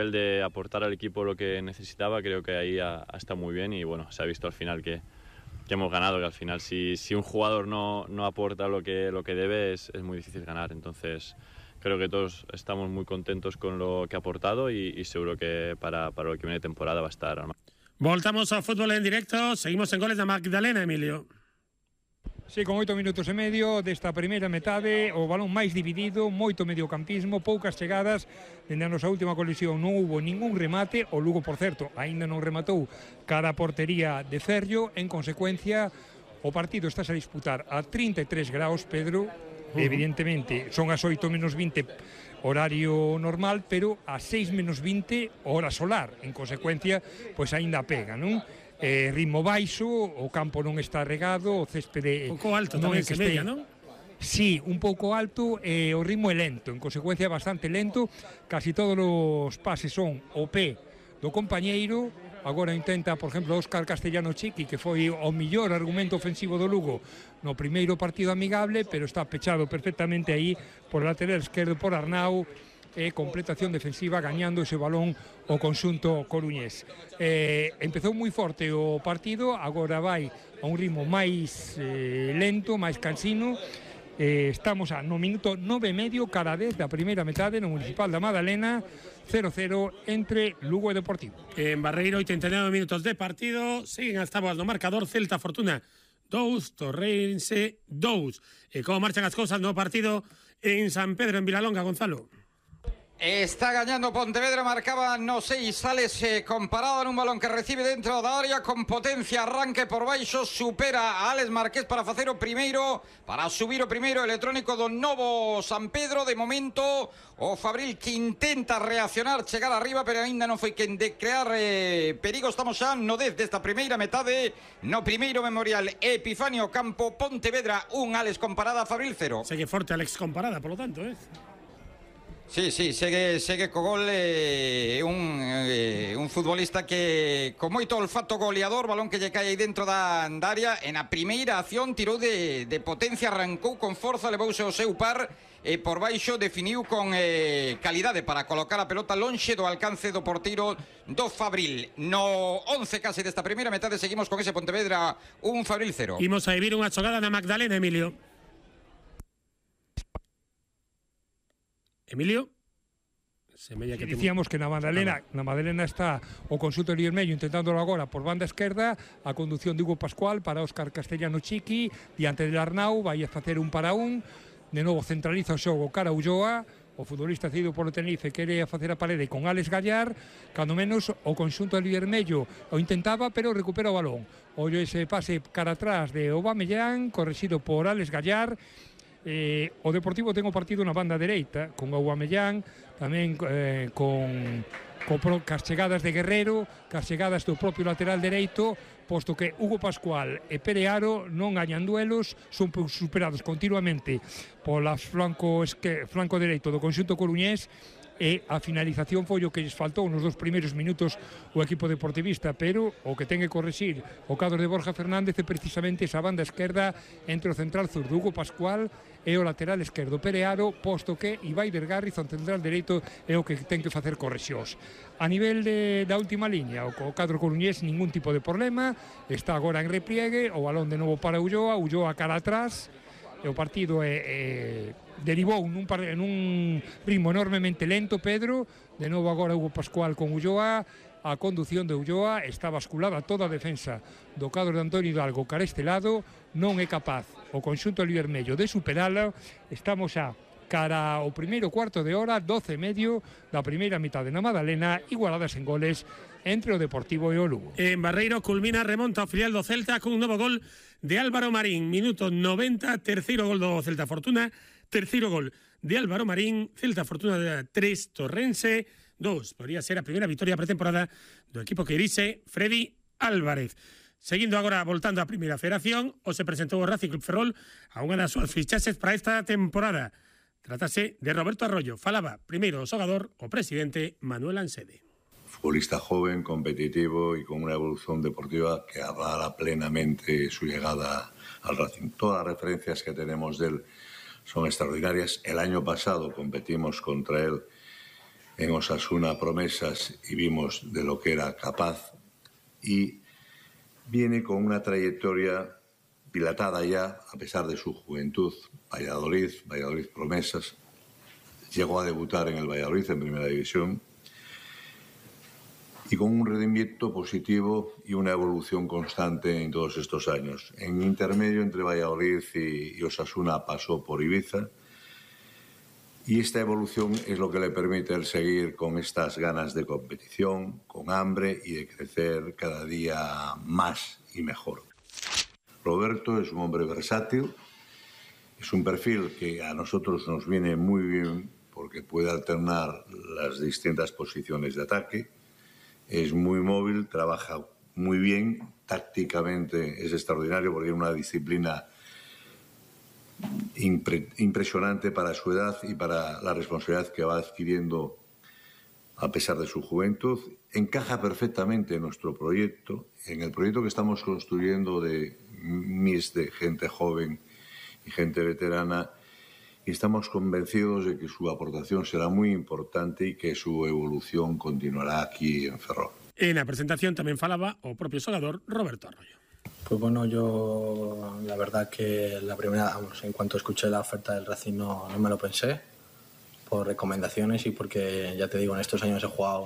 El de aportar al equipo lo que necesitaba, creo que ahí ha estado muy bien y bueno, se ha visto al final que hemos ganado, que al final si un jugador no aporta lo que debe es muy difícil ganar, entonces creo que todos estamos muy contentos con lo que ha aportado y seguro que para lo que viene de temporada va a estar al máximo. Voltamos ao fútbol en directo, seguimos en goles da Magdalena, Emilio. Sí, con 8 minutos e medio desta primeira metade, o balón máis dividido, moito mediocampismo, poucas chegadas, dende a nosa última colisión non hubo ningún remate, o Lugo, por certo, aínda non rematou cara a portería de Ferrio, en consecuencia, o partido está a disputar a 33 graus, Pedro, evidentemente, son as 8 menos 20 horario normal, pero a 6 menos 20 hora solar, en consecuencia, pois aínda pega, non? Ritmo baixo, o campo non está regado, o céspede un pouco alto tamén se mella, non? Sí, un pouco alto, o ritmo é lento, en consecuencia bastante lento, casi todos os pases son o pé do compañeiro. Agora intenta, por exemplo, Óscar Castellano Chiqui, que foi o mellor argumento ofensivo do Lugo no primeiro partido amigable, pero está pechado perfectamente aí por lateral esquerdo por Arnau, completación defensiva, gañando ese balón o conxunto coruñés. Empezou moi forte o partido, agora vai a un ritmo máis lento, máis cansino. Estamos no minuto 9,5 cada 10 da primeira metade no Municipal da Madalena, 0-0 entre Lugo e Deportivo. En Barreiro, 89 minutos de partido, siguen as táboas no marcador, Celta Fortuna 2, Torrense 2. E como marchan as cousas no partido en San Pedro, en Vilalonga, Gonzalo? Está gañando Pontevedra, marcaba no 6, Sales comparado en un balón que recibe dentro da área con potencia, arranque por baixo, supera a Alex Marqués para facer o primeiro, para subir o primeiro electrónico do novo San Pedro. De momento o Fabril que intenta reaccionar, chegar arriba, pero ainda non foi quen de crear perigo. Estamos xa no 10 desta primeira metade, no primeiro memorial Epifanio Campo. Pontevedra 1, Alex comparada, Fabril 0. Segue forte Alex comparada, polo tanto, Sí, segue co gol, un futbolista que con moito olfato goleador, balón que lle cae aí dentro da área. En a primeira acción tirou de potencia, arrancou con forza, levouse o seu par e por baixo definiu con calidade para colocar a pelota lonxe do alcance do porteiro do Fabril. No 11 case desta primeira metade seguimos con ese Pontevedra 1, Fabril 0. Imos a vivir unha xogada na Magdalena, Emilio. Emilio, se dicíamos que na Madalena está o conxunto Vermello intentándolo agora por banda esquerda, a conducción de Hugo Pascual para Óscar Castellano Chiqui, diante del Arnau, vai a facer un para un, de novo centraliza o xogo cara a Ulloa, o futbolista cedido polo Tenerife quere facer a parede con Alex Gallar, cando menos o conxunto Vermello o intentaba, pero recupera o balón. Ollo ese pase cara atrás de Aubameyang, correxido por Alex Gallar. O Deportivo ten o partido na banda dereita con Aubameyang, tamén con cas chegadas de Guerrero, cas chegadas do propio lateral dereito, posto que Hugo Pascual e Pere Aro non gañan duelos, son superados continuamente pola flanco dereito do conxunto coruñés, e a finalización foi o que lles faltou nos dos primeiros minutos o equipo deportivista, pero o que ten que correxir o cadro de Borja Fernández é precisamente esa banda esquerda entre o central zurdo Hugo Pascual e o lateral esquerdo Pere Aro, posto que Ibai Vergarriz, o central dereito, é o que ten que facer correxións. A nivel da última liña, o cadro coruñés ningún tipo de problema, está agora en repliegue, o balón de novo para Ulloa cara atrás, e o partido derivou en un ritmo enormemente lento, Pedro. De novo agora Hugo Pascual con Ulloa, a condución de Ulloa, está basculada toda a defensa do cadro de Antonio Hidalgo cara este lado, non é capaz o conxunto Vermello de superala. Estamos xa cara ao primeiro cuarto de hora, 12,5 da primeira mitade na Madalena, igualadas en goles entre o Deportivo e o Lugo. En Barreiro culmina, remonta o filial do Celta con un novo gol de Álvaro Marín, minuto 90, terceiro gol do Celta Fortuna, terceiro gol de Álvaro Marín, Celta Fortuna 3, Torrense 2. Podría ser a primeira vitória pretemporada do equipo que dirige Freddy Álvarez. Seguindo agora, voltando á primeira federación, o se presentou o Racing Club Ferrol a unha das súas fichaxes para esta temporada. Trátase de Roberto Arroyo. Falaba primeiro o xogador, o presidente Manuel Ansede. Futbolista joven, competitivo y con una evolución deportiva que avala plenamente su llegada al Racing. Todas las referencias que tenemos de él son extraordinarias. El año pasado competimos contra él en Osasuna promesas y vimos de lo que era capaz, y viene con una trayectoria dilatada ya, a pesar de su juventud. Valladolid promesas, llegó a debutar en el Valladolid en Primera División, y con un rendimiento positivo y una evolución constante en todos estos años. En intermedio entre Valladolid y Osasuna pasó por Ibiza, y esta evolución es lo que le permite el seguir con estas ganas de competición, con hambre y de crecer cada día más y mejor. Roberto es un hombre versátil, es un perfil que a nosotros nos viene muy bien porque puede alternar las distintas posiciones de ataque. Es muy móvil, trabaja muy bien, tácticamente es extraordinario porque tiene una disciplina impresionante para su edad y para la responsabilidad que va adquiriendo a pesar de su juventud. Encaja perfectamente en nuestro proyecto, en el proyecto que estamos construyendo de mix de gente joven y gente veterana, y estamos convencidos de que su aportación será muy importante y que su evolución continuará aquí en Ferrol. En la presentación también falaba o propio xogador Roberto Arroyo. Pues bueno, yo la verdad que la primera, en cuanto escuché la oferta del Racing no me lo pensé, por recomendaciones y porque, ya te digo, en estos años he jugado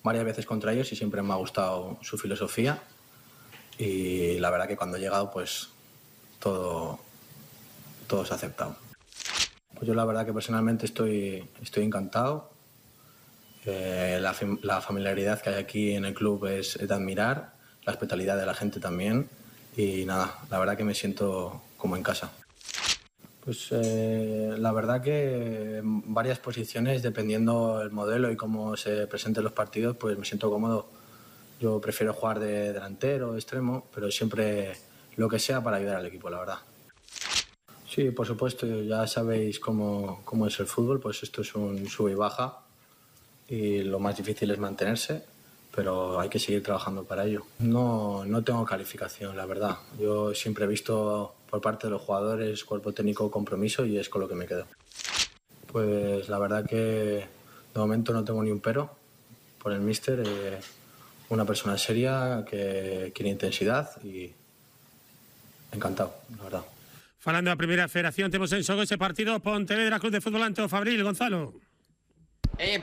varias veces contra ellos y siempre me ha gustado su filosofía, y la verdad que cuando he llegado pues todo se ha aceptado. Pues yo la verdad que personalmente estoy encantado. La familiaridad que hay aquí en el club es de admirar, la hospitalidad de la gente también, y nada, la verdad que me siento como en casa. Pues la verdad que en varias posiciones, dependiendo el modelo y cómo se presenten los partidos, pues me siento cómodo. Yo prefiero jugar de delantero, de extremo, pero siempre lo que sea para ayudar al equipo, la verdad. Sí, por supuesto, ya sabéis cómo es el fútbol, pues esto es un sube y baja y lo más difícil es mantenerse, pero hay que seguir trabajando para ello. No tengo calificación, la verdad. Yo siempre he visto por parte de los jugadores, cuerpo técnico, compromiso, y es con lo que me quedo. Pues la verdad que de momento no tengo ni un pero por el míster. Una persona seria que quiere intensidad y encantado, la verdad. Falando da Primeira Federación, temos en xogo ese partido Pontevedra Club de Fútbol ante o Fabril. Gonzalo.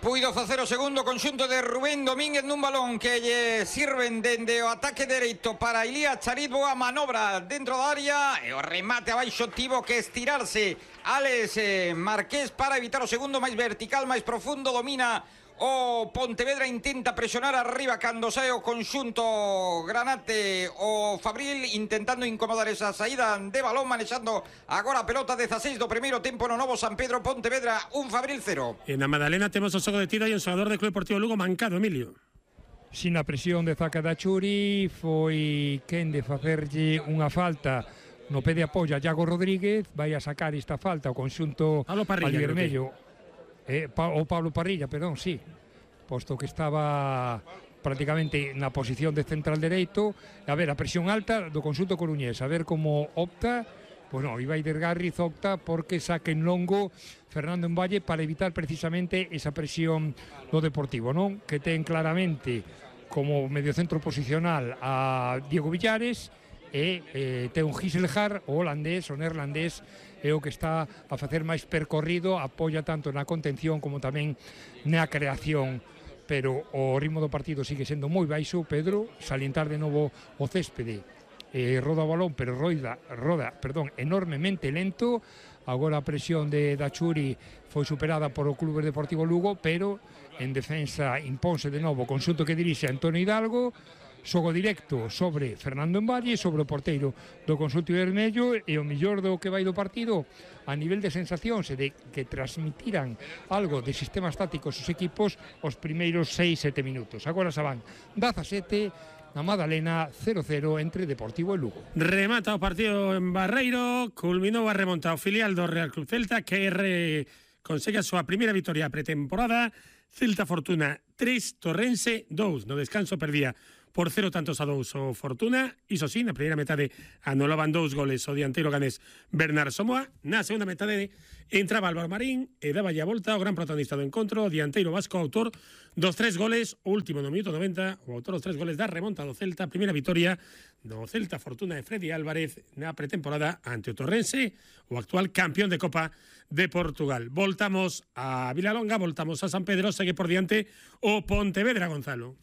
Puido facer o segundo conxunto de Rubén Domínguez nun balón que lle sirven dende o ataque dereito para Ilías Charit. Boa manobra dentro da área e o remate abaixo tivo que estirarse Alex Marqués para evitar o segundo, máis vertical, máis profundo. Domina o Pontevedra, intenta presionar arriba cando sae o conxunto granate. O Fabril intentando incomodar esa saída de balón, manexando agora a pelota. 16 do primeiro tempo no novo San Pedro. Pontevedra 1, Fabril 0. En a Madalena temos o xogo de tiro e un xogador do Club Deportivo Lugo mancado, Emilio. Sin a presión de Zaca da Churi, foi quen de facerlle unha falta no pé de apoio a Iago Rodríguez. Vai a sacar esta falta o conxunto alvermello. O Pablo Parrilla, perdón, sí, posto que estaba prácticamente na posición de central dereito. A ver, a presión alta do conxunto coruñés, a ver como opta. Pois non, Ibaider Garriz opta porque saque en longo Fernando Envalle para evitar precisamente esa presión do Deportivo, non? Que ten claramente como mediocentro posicional a Diego Villares e ten un Giselhar, o holandés, o neerlandés, é o que está a facer máis percorrido, apoia tanto na contención como tamén na creación, pero o ritmo do partido sigue sendo moi baixo. Pedro, salientar de novo o céspede, roda o balón, pero roda enormemente lento. Agora a presión de Dachuri foi superada por o Club Deportivo Lugo, pero en defensa impónse de novo o conxunto que dirixe Antonio Hidalgo. Xogo directo sobre Fernando Envalle, sobre o porteiro do conxunto vermello, e o millor do que vai do partido a nivel de sensacións e de que transmitiran algo de sistemas tácticos os equipos os primeiros 6-7 minutos. Agora xa van 17 na Madalena, 0-0 entre Deportivo e Lugo. Remata o partido en Barreiro, culminou a remonta o filial do Real Club Celta, que consegue a súa primeira vitoria pretemporada. Celta Fortuna 3, Torrense 2. No descanso perdía por 0 tantos a 2 o Fortuna. Iso sí, na primeira metade anulaban 2 goles o dianteiro ganés Bernard Somoa. Na segunda metade entraba Álvaro Marín e daba a volta o gran protagonista do encontro, o dianteiro vasco, autor dos 3 goles, o último no minuto 90, o autor dos 3 goles da remonta do Celta, primeira vitoria do Celta Fortuna de Freddy Álvarez na pretemporada ante o Torrense, o actual campeón de Copa de Portugal. Voltamos a Vilalonga, voltamos a San Pedro, segue por diante o Pontevedra, Gonzalo.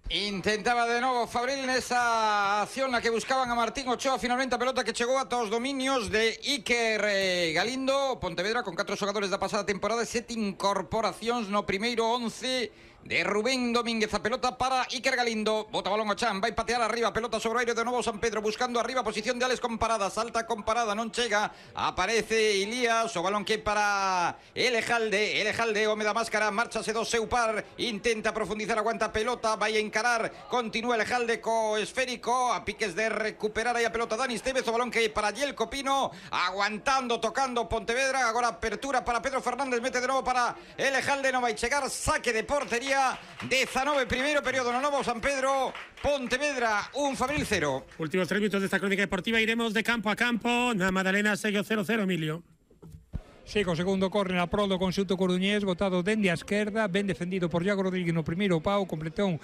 Intentaba de novo Fabril nesa acción na que buscaban a Martín Ochoa, finalmente a pelota que chegou ata os dominios de Iker Galindo. Pontevedra con 4 xogadores da pasada temporada, 7 incorporacións no primeiro 11 de Rubén Domínguez. A pelota para Iker Galindo, bota balón o Chan, vai patear arriba, pelota sobre o aire de novo San Pedro, buscando arriba, posición de Alex con parada, salta con parada, non chega, aparece Ilías, o balón que para Elejalde, home da máscara, márchase do seu par, intenta profundizar, aguanta a pelota, vai a encarar, continúa Elejalde co esférico, a piques de recuperar aí a pelota Dani Estevez, o balón que para Yelko Pino, aguantando, tocando Pontevedra, agora apertura para Pedro Fernández, mete de novo para Elejalde, non vai chegar, saque de portería, 19 primeiro período no novo San Pedro, Pontevedra 1, Fabril 0. Últimos 3 minutos desta crónica deportiva, iremos de campo a campo. Na Madalena segue o 0-0, Emilio. Segue o segundo córner a prol do conxunto coruñés, botado dende a esquerda, ben defendido por Iago Rodríguez no primeiro pau, completou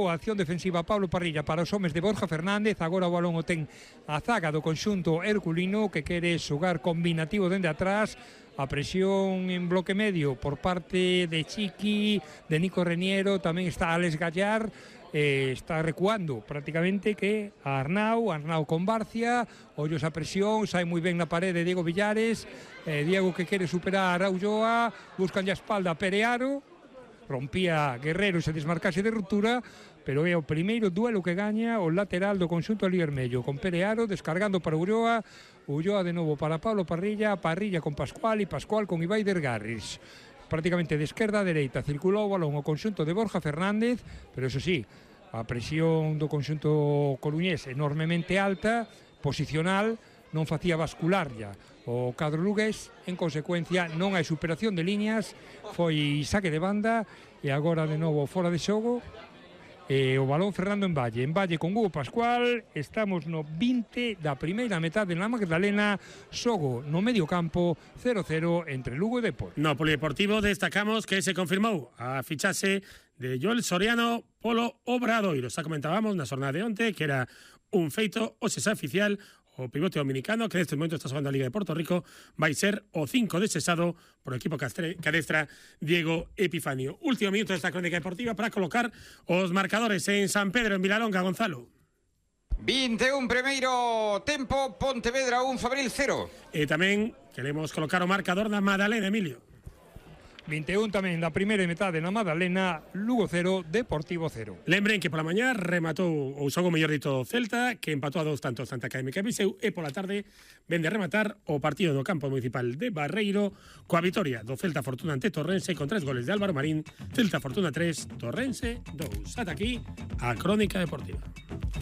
a acción defensiva Pablo Parrilla para os homes de Borja Fernández. Agora o balón o ten a zaga do conxunto herculino, que quere xogar combinativo dende atrás. A presión en bloque medio por parte de Chiqui, de Nico Reniero, tamén está Alex Gallar, está recuando prácticamente que a Arnau con Barcia, ollos a presión, sai moi ben na parede Diego Villares, Diego que quere superar a Ulloa, buscan a espalda a Perearo, rompía Guerrero e se desmarcase de ruptura, pero é o primeiro duelo que gaña o lateral do conxunto aliermello, con Perearo descargando para Ulloa, Ulloa de novo para Pablo Parrilla, Parrilla con Pascual e Pascual con Ibai Dergarris. Prácticamente de esquerda a dereita circulou o balón o conxunto de Borja Fernández, pero eso sí, a presión do conxunto coruñés enormemente alta, posicional, non facía bascular ya o cadro lugués, en consecuencia non hai superación de líneas, foi saque de banda e agora de novo fora de xogo. O balón Fernando en Valle con Hugo Pascual. Estamos no 20 da primeira metade na Magdalena, xogo no medio campo, 0-0 entre Lugo e Depor. No polideportivo destacamos que se confirmou a fichase de Joel Soriano polo Obradoiro. Xa comentábamos na xornada de onte que era un feito, o xa oficial. O pivote dominicano, que neste momento está xogando a Liga de Porto Rico, vai ser o 5 desexado por o equipo que adestra Diego Epifanio. Último minuto desta crónica deportiva para colocar os marcadores en San Pedro, en Vilalonga, Gonzalo. 21 primeiro tempo, Pontevedra 1, Fabril 0. E tamén queremos colocar o marcador na Madalena, Emilio. 21 tamén da primeira metade na Madalena, Lugo 0, Deportivo 0. Lembren que pola mañá rematou o xogo mellor dito Celta, que empatou a 2 tantos Santa Académica e Viseu, e pola tarde vende a rematar o partido do campo municipal de Barreiro coa vitoria do Celta Fortuna ante Torrense con 3 goles de Álvaro Marín. Celta Fortuna 3, Torrense 2. Ata aquí a crónica deportiva.